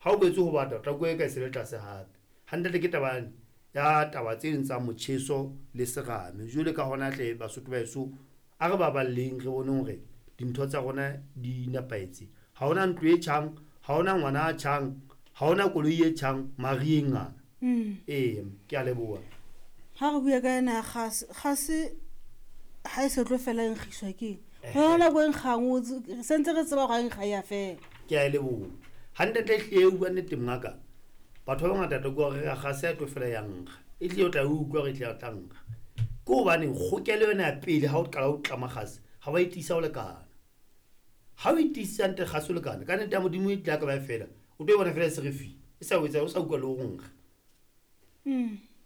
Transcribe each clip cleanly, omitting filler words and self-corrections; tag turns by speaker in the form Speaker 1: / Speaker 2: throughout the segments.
Speaker 1: Ha o boetse ho bata, o tla utlwa eka e se le tlase hape. Hantle ke taba yane ya taba tse ding tsa motjheso le serame. Jwale ka hona hle Basotho ba heso, a re baballeng re boneng hore dintho tsa rona di nepahetse. Ha hona ntlo e tjhang, ha hona ngwana a tjhang, ha hona koloi e tjhang mariheng ana. Ee, ke a leboha.
Speaker 2: Ha re bua ka ena ya kgase, kgase ha e se tlo fela e nkgiswa ke eng? Ho na le nako e nkgang o re sentse re tseba hore ha e nkga ya fela.
Speaker 1: Ke a e leboha. Hantle ehlile o bua nnete mongaka. Batho ba bangata tlo kwa hore kgase ha e tlo fela ya nkga. Ehlile o tla e utlwa hore ehlile ya tla nkga. Ke hobaneng kgokelo yona ya pele ha o qala o tlama kgase, ha wa e tiisa ho lekana. Ha o e tiisitse hantle kgase ho lekana, ka nnete ya Modimo e tla ka ba e fela, o tlo e bona fela e se re fi. E sa o etsa o sa utlwa le ho nkga.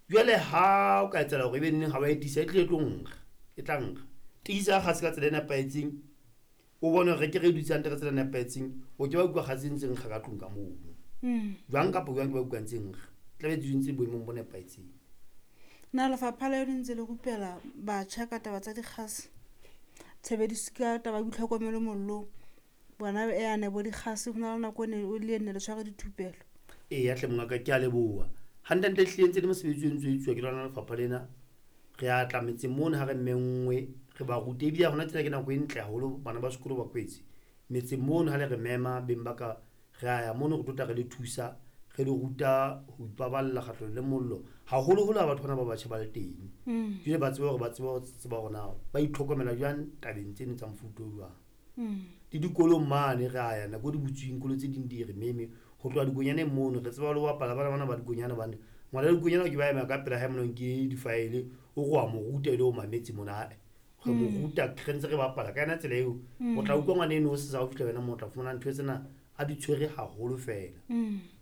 Speaker 1: Jwale ha o ka etsahala hore ebe neng ha wa e tiisa, e tlile e tlo nkga, e tla nkga. Tiisa kgase ka tsela e nepahetseng, o bone hore ke re dutse hantle ka tsela e nepahetseng, o ke ba utlwa kgase e ntse nkga ka tlung ka mono. Jwang kapa jwang ke ba utlwa ntse nkga. Tlabe di ntse boemong bo nepahetseng.
Speaker 2: Na lefapha la yona ntse le rupela batjha ka taba tsa dikgase, tshebediso ka taba ya boitlhokomelo mollong, bona yane bo dikgase, ho na le nako e ne o le enne le tshware dithupelo.
Speaker 1: Eya hle mongaka, ke a leboha. Hantle-ntle ehlile ntse le mosebetsi o ntso etsuwa ke lona lefapha lena. Re a tla metseng mono ha re menngwe, re ba rute. Ebile hona tjena ke nako e ntle haholo bana ba sekolo ba kwetse. Metseng mono ha le re mema beng ba ka, re a ya mono re tlo tla re le thusa, re le ruta ho ipaballa kgahlanong le mollo. Haholoholo ha batho bana ba batjha ba le teng. Jwale ba tsebe hore ba tsebe ho tseba hore na ba itlhokomela jwang tabeng tseno tsa mofuta o jwang. Le dikolong mane re a ya nako di butsweng, dikolo tse ding di re meme. Ho tloha dikonyaneng mono re tseba le ho bapala bana bana ba dikonyana hobane ngwana dikonyana ke ba ema ka pela hae mona o nke di-file, o re wa mo ruta e le o mametse mona, ae. Re mo ruta re ntse re bapala ka yona tsela eo. O tla utlwa ngwana eno o sesa o fihla wena moo o tla fumana ntho tsena a di tshwere haholo fela.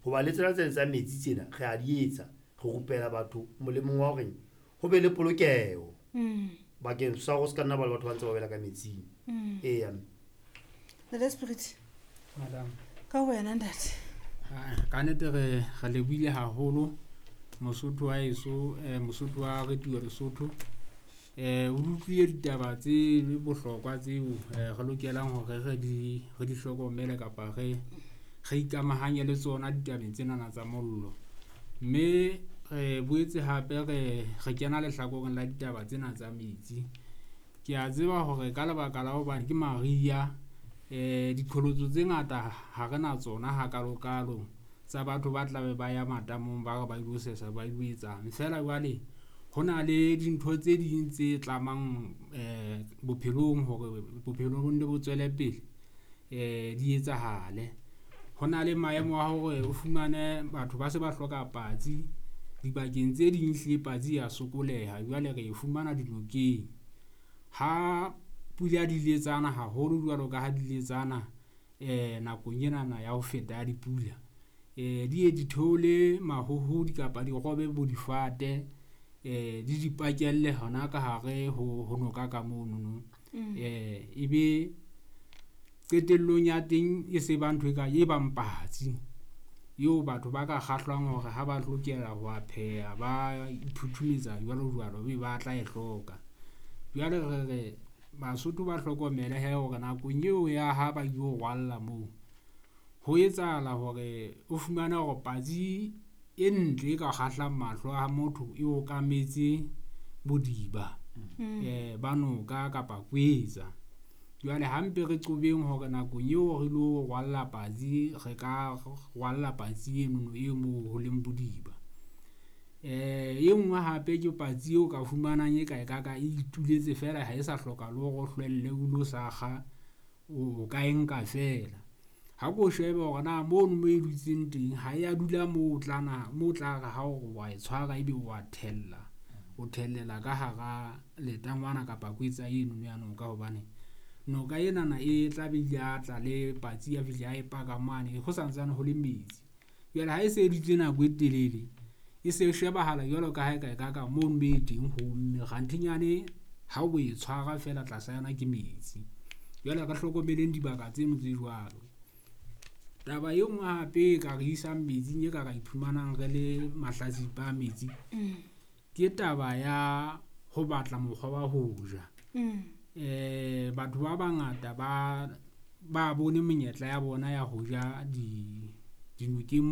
Speaker 1: Hoba le tsena tsena tsa metsi tsena re a di etsa, re rupela batho molemong wa hore ho be le polokeho bakeng sa hore o se ka nna ba le batho ba ntse ba wela ka metsing. Eya.
Speaker 2: Ntate Spirit.
Speaker 3: Madam.
Speaker 2: Ka wena ntate.
Speaker 3: Ka nnete re lebohile haholo Mosotho wa heso, Mosotho wa Radio Lesotho. O utlwile ditaba tse bohlokwa tseo re lokelang hore re di hlokomele kapa re ikamahanye le tsona ditabeng tsenana tsa mollo. Mme re boetse hape re kena lehlakoreng la ditaba tsena tsa metsi. Ke a tseba hore ka lebaka la hobane ke mariha, diqholotso tse ngata ha re na tsona hakalokalo tsa batho ba tlabe ba ya matamong, ba re ba ilo sesa, ba ilo etsang. Feela jwale ho na le dintho tse ding tse tlamang bophelong hore bophelo bo nne bo tswele pele, di etsahale. Ho na le maemo a hore o fumane batho ba se ba hloka patsi dibakeng tse ding, ehlile patsi ya sokoleha jwale re e fumana dinokeng. Ha pula di letsana haholo jwalo ka ha di letsana nakong enana ya ho feta ya dipula, di ye di theole mahohodi kapa di robe bo difate, di di pakelle hona ka hare ho noka ka monono. Ebe qetellong ya teng e se ba ntho e ka e bang patsi eo batho ba ka kgahlwang hore ha ba lokela ho a pheha, ba iphuthumetsa jwalo jwalo, ebe ba tla e hloka. Jwale re re Basotho ba hlokomele hee hore nakong eo ya ha ba ilo rwalla moo, ho etsahala hore o fumane hore patsi e ntle e ka kgahlang mahlo a motho e okametse bodiba ba noka kapa kwetsa. Jwale hampe re qobeng hore nakong eo re lo rwalla patsi, re ka rwalla patsi enono e moo ho leng bodiba. E nngwe hape ke patsi eo ka fumanang e ka e ka ka e ituletse feela, ha e sa hloka le hore o hlwelle o lo sakga, o ka e nka feela. Ha ko shebe hore na mono mo e dutseng teng ha ya dula moo o tlana moo o tla re ha o re wa e tshwara, ebe wa thella, o thellela ka hara letangwana kapa kwetsa enono ya noka. Hobane noka enana e tla be ile a tla le patsi ya fihla ya e paka mane ho santsane ho le metsi. Jwale ha e se dutse nako e telele, e se shebahala jwalo ka ha eka e ka ka mono mo e teng ho omme, kganthenyane ha o e tshwara feela tlasa yona ke metsi. Jwale re hlokomeleng dibaka tseno tse jwalo. Taba e nngwe hape e ka re isang metsing, e ka ra iphumanang re le mahlatsipa a metsi, ke taba ya ho batla mokgwa wa ho ja. Batho ba bangata ba bone menyetla ya bona ya ho ja Dinokeng.